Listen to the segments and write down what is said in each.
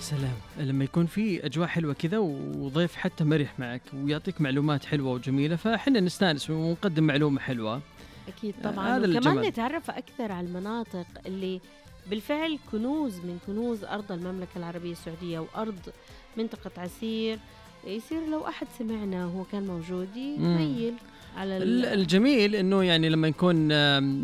سلام لما يكون في أجواء حلوة كذا وضيف حتى مرح معك ويعطيك معلومات حلوة وجميلة، فإحنا نستانس ونقدم معلومة حلوة. أكيد طبعا. وكمان نتعرف أكثر على المناطق اللي بالفعل كنوز من كنوز أرض المملكة العربية السعودية وأرض منطقة عسير. يصير لو أحد سمعنا هو كان موجود يميل على الجميل إنه يعني لما نكون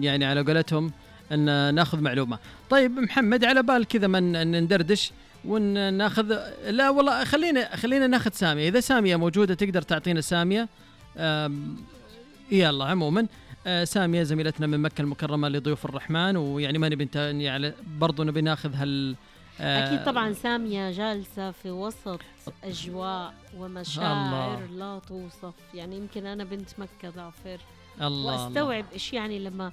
يعني على قولتهم أن ناخذ معلومة. طيب محمد، على بال كذا من ندردش وناخذ، لا والله خلينا ناخذ سامية. إذا سامية موجودة تقدر تعطينا سامية. يلا عموما سامية زميلتنا من مكة المكرمة لضيوف الرحمن، ويعني ما نبي يعني برضو نبي ناخذ أكيد طبعا. سامية جالسة في وسط أجواء ومشاعر لا توصف. يعني يمكن أنا بنت مكة ظافر وأستوعب إيش يعني لما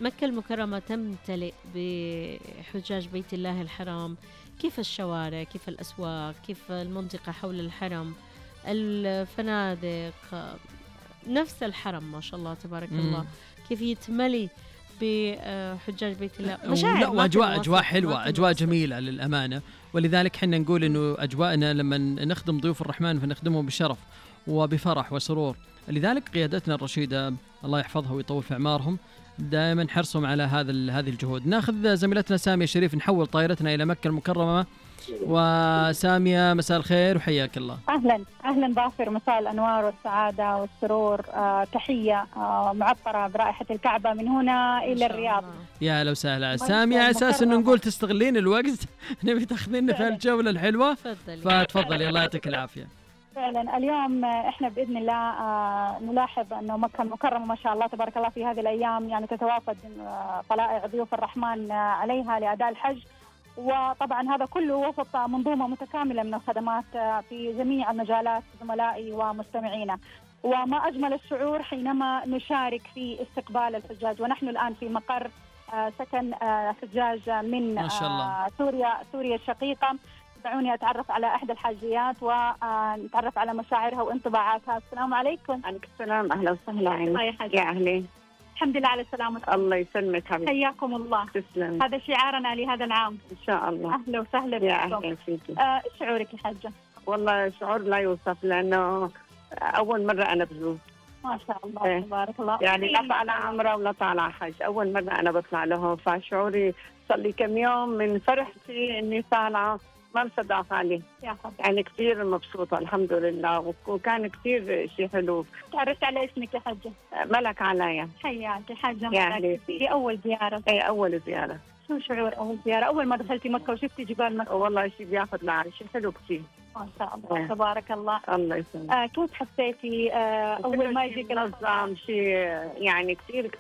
مكة المكرمة تمتلئ بحجاج بيت الله الحرام. كيف الشوارع، كيف الأسواق، كيف المنطقة حول الحرم، الفنادق، نفس الحرم ما شاء الله تبارك الله كيف يتملي بحجاج بيت الله. مشاعر وأجواء حلوة، أجواء جميلة للأمانة. ولذلك حنا نقول إنه أجواءنا لما نخدم ضيوف الرحمن فنخدمهم بشرف وبفرح وسرور. لذلك قيادتنا الرشيدة الله يحفظها ويطول في أعمارهم دائما حرصهم على هذه الجهود. ناخذ زميلتنا سامية شريف، نحول طائرتنا إلى مكة المكرمة. وسامية مساء الخير وحياك الله. أهلا ظافر، مساء الأنوار والسعادة والسرور. تحية معطرة برائحة الكعبة من هنا إلى الرياض. يا لو سهلة سامية، على أساس إنه نقول تستغلين الوقت نبي تاخذين في الجولة الحلوة، فتفضلي الله يعطيك العافية. فعلا اليوم احنا باذن الله نلاحظ انه مكه المكرمه ما شاء الله تبارك الله في هذه الايام يعني تتوافد طلائع ضيوف الرحمن عليها لاداء الحج. وطبعا هذا كله وسط منظومه متكامله من الخدمات في جميع المجالات زملائي ومستمعينا. وما اجمل الشعور حينما نشارك في استقبال الحجاج، ونحن الان في مقر سكن حجاج من سوريا الشقيقه. دعوني أتعرف على إحدى الحاجيات ونتعرف على مشاعرها وانطباعاتها. السلام عليكم. عليكم السلام، أهلا وسهلا. يا أهلي. الحمد لله على السلامة. الله يسلمك حبيبي. حياكم الله. تسلم. هذا شعارنا لهذا العام إن شاء الله. أهلا وسهلا بكم. يا أهلا فيكي. إيش شعورك يا حاجة؟ والله شعور لا يوصف، لأنه أول مرة أنا بزور. ما شاء الله تبارك الله. يعني لا طالع عمرة ولا طالع حج، أول مرة أنا بطلع لهم، فشعوري صار لي كم يوم من فرحتي إني طالعة ما مصدق عليه. يعني كثير مبسوطة الحمد لله، وكان كثير شيء حلو. تعرفت على اسمك يا حجة؟ ملك علايا. حياك حاجة ملك. في أول زيارة. اي أول زيارة. شو شعور أول زيارة؟ أول ما دخلتي مكة وشفتي جبال مكة؟ والله شيء بياخذ العرش، شيء حلو كثير. ما شاء الله تبارك الله. الله يسلمك. كيف حسيتي أول ما يجيك نظام شيء يعني كثير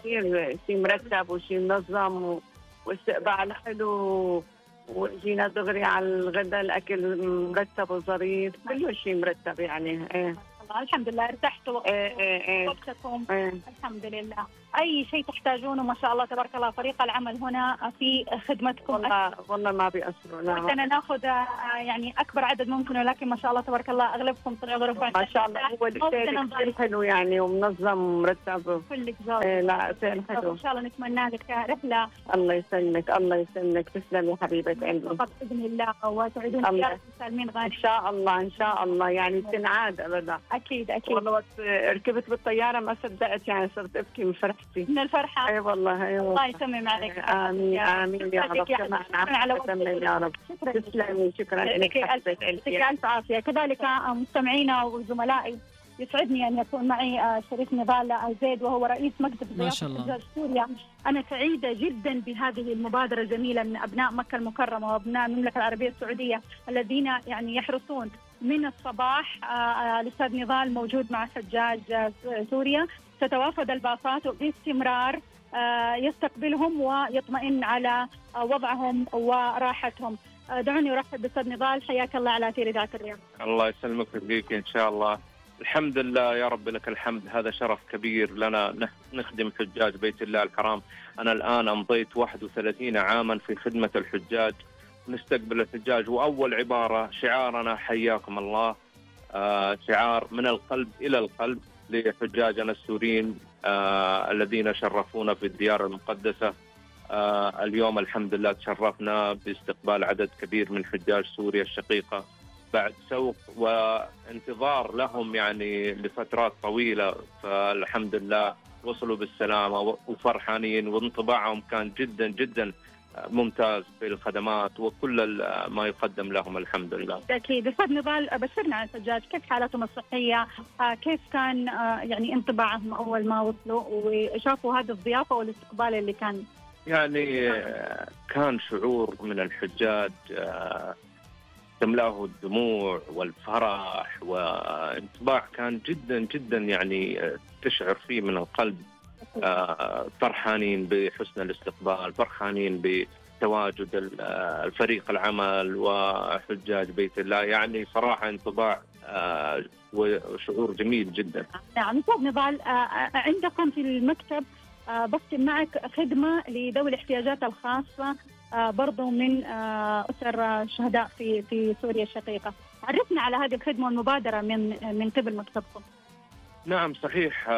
شيء مرتب وشيء منظم واستقبال حلو، وجينا دغري على الغداء، الأكل مرتب وظريف، كل شيء مرتب يعني. الحمد لله ارتحتوا. وقتكم. الحمد لله. أي شيء تحتاجونه ما شاء الله تبارك الله فريق العمل هنا في خدمتكم. والله ما بيأثروا. وقتنا ناخذ يعني أكبر عدد ممكن، ولكن ما شاء الله تبارك الله أغلبكم طلعوا ظروف ما شاء الله. هو الشيء كثير حلو يعني ومنظم ومرتب. كلك زود. لا شيء حلو. إن شاء الله نتمنى لك رحلة. الله يسلمك الله يسلمك. تسلم يا حبيبة قلبي. بإذن الله وتعيدون زيارة سالمين غالي. إن شاء الله إن شاء الله يعني تنعاد أبدا. أكيد. والله وقت ركبت بالطيارة ما صدقت، يعني صرت أبكي من فرحتي. من الفرحة. أي والله. الله يتمم عليك. آمين آمين يا رب. يا رب. تسلمي. شكرا لك. يعطيك ألف عافية. كذلك مستمعينا وزملائي يسعدني أن يكون معي شريف نضال زيد، وهو رئيس مكتب ضيافة حجاج سوريا. أنا سعيدة جدا بهذه المبادرة الجميلة من أبناء مكة المكرمة وأبناء المملكة العربية السعودية الذين يعني يحرصون من الصباح. الأستاذ نضال موجود مع حجاج سوريا، تتوافد الباصات باستمرار يستقبلهم ويطمئن على وضعهم وراحتهم. دعوني أرحب بالأستاذ نضال. حياك الله على أثير إذاعة الرياض. الله يسلمك ويبقيك إن شاء الله. الحمد لله يا رب لك الحمد. هذا شرف كبير لنا نخدم حجاج بيت الله الحرام. أنا الآن أمضيت 31 عاما في خدمة الحجاج، نستقبل الحجاج، وأول عبارة شعارنا حياكم الله، شعار من القلب إلى القلب لحجاجنا السوريين الذين شرفونا في الديار المقدسة. اليوم الحمد لله تشرفنا باستقبال عدد كبير من حجاج سوريا الشقيقة بعد سوق وانتظار لهم يعني لفترات طويلة، فالحمد لله وصلوا بالسلامة وفرحانين، وانطباعهم كان جدا جدا ممتاز بالخدمات وكل ما يقدم لهم الحمد لله. أكيد. أستاذ نضال، بشرنا عن الحجاج، كيف حالتهم الصحية؟ كيف كان يعني انطباعهم أول ما وصلوا وشافوا هذه الضيافة والاستقبال اللي كان؟ يعني كان شعور من الحجاج تملاه الدموع والفرح، وانطباع كان جدا جدا يعني تشعر فيه من القلب. فرحانين بحسن الاستقبال، فرحانين بتواجد الفريق العمل وحجاج بيت الله، يعني صراحة انطباع وشعور جميل جدا. نعم. أستاذ نضال، عندكم في المكتب بختم معك خدمة لذوي الاحتياجات الخاصة برضو من أسر الشهداء في سوريا الشقيقة. عرفنا على هذه الخدمة والمبادرة من قبل مكتبكم. نعم صحيح،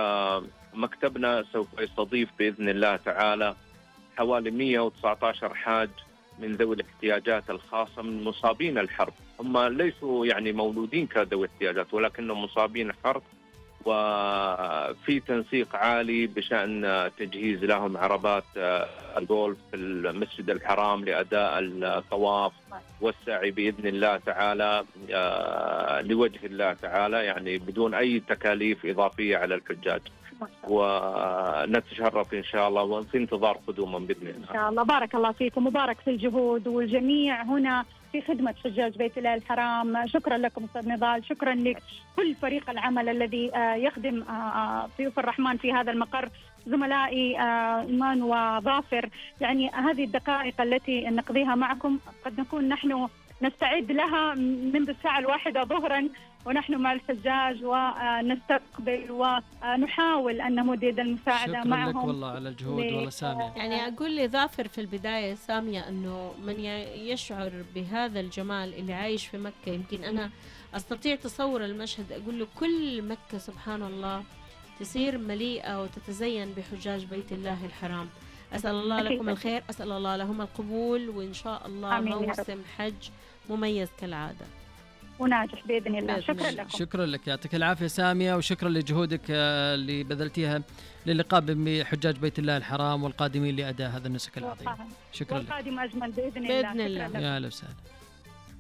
مكتبنا سوف يستضيف بإذن الله تعالى حوالي 119 حاج من ذوي الاحتياجات الخاصة من مصابين الحرب. هم ليسوا يعني مولودين كذوي احتياجات، ولكنهم مصابين حرب، وفي تنسيق عالي بشأن تجهيز لهم عربات الجولف في المسجد الحرام لأداء الطواف والسعي بإذن الله تعالى لوجه الله تعالى، يعني بدون أي تكاليف إضافية على الحجاج، ونتشرف إن شاء الله وفي انتظار قدومهم بإذن الله. إن شاء الله. بارك الله فيكم، مبارك في الجهود، والجميع هنا في خدمة حجاج بيت الله الحرام. شكرا لكم أستاذ نضال، شكرا لكل فريق العمل الذي يخدم ضيوف الرحمن في هذا المقر، زملائي إيمان وظافر. يعني هذه الدقائق التي نقضيها معكم قد نكون نحن نستعد لها منذ الساعة 1 ظهرا ونحن مع الحجاج، ونستقبل ونحاول أن نمد يد المساعدة معهم. شكرا لك والله على الجهود والله سامية. يعني أقول لظافر في البداية سامية أنه من يشعر بهذا الجمال اللي عايش في مكة، يمكن أنا أستطيع تصور المشهد، أقول له كل مكة سبحان الله تصير مليئة وتتزين بحجاج بيت الله الحرام. أسأل الله لكم الخير، أسأل الله لهم القبول، وإن شاء الله موسم حج مميز كالعادة وناجح بإذن الله. شكرا لكم. شكرا لك، يعطيك العافية سامية، وشكرا لجهودك اللي بذلتيها للقاء بحجاج بيت الله الحرام والقادمين لأداء هذا النسك العظيم. شكرا لك. والقادم أجمل بإذن الله. بإذن الله. يا أهلا وسهلا.